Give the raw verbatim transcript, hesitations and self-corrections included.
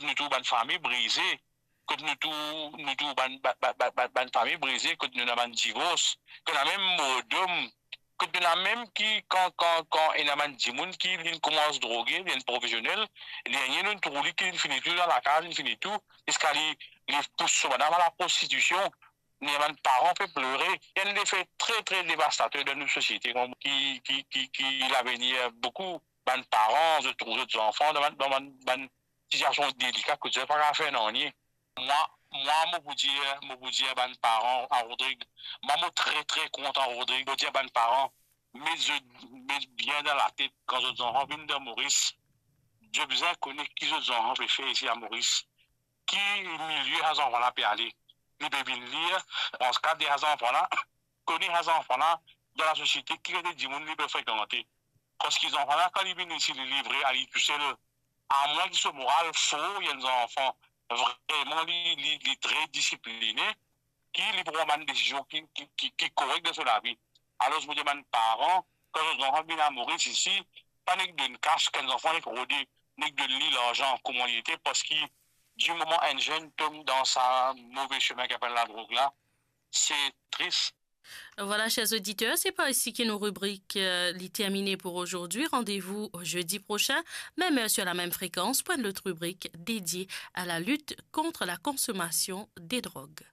nou tou bann fami brize, kot nou tou, nou tou bann, bann, bann, bann, bann, bann fami brize, kot nou ena bann divors, kot ena mem mordom, kot nou ena mem ki, kan, kan, kan ena bann dimoun ki linn koumans droge, linn profesionel, dernie nou trouv li ki linn fini tou dan lakaz, linn fini tou, ziska li, li pous so madam a laprostitision, nou ena bann paran pe plore. Ena lefe tre, tre devastater dan nou sosiete, ki, ki, ki, ki lavenir boukou bann paran, zot trouv zot zanfan dan bann, dan bann, bann sitiasion delika, kot zot pa kapav fer nanye. Mwa, mwa, mo pou dir, mo pou dir bann paran a Rodrig, mwa, mo tre, tre kontan Rodrig, mo dir bann paran, met zot, met bien dan latet, kan zot zanfan vinn dan Moris, zot bizin kone ki zot zanfan pe fer isi a Moris, ki milie sa zanfan la pe ale. Li pe vinn lir, pran ka de sa zanfan la, kone sa zanfan la, dan lasosiete, ki kalite dimoun li pe frekante. Parski zanfan la, kan li vinn isi, li livre a li tousel. Amwin ki so moral for, enn zanfan, vreman, li, li, li tre disipline, ki li pou pran bann desizion ki, ki, ki, ki korek dan so lavi. Alor, mo dir bann paran, kan zot zanfan vinn a Moris isi, pa nek donn kas, kan zanfan nek rode, nek donn li larzan kouma li ete, parski di moman enn zenn tom dan sa move semin ki apel ladrog la, se tris. Voilà, chers auditeurs, c'est par ici que nos rubriques euh, les terminées pour aujourd'hui. Rendez-vous au jeudi prochain, même heure sur la même fréquence, pour une autre rubrique dédiée à la lutte contre la consommation des drogues.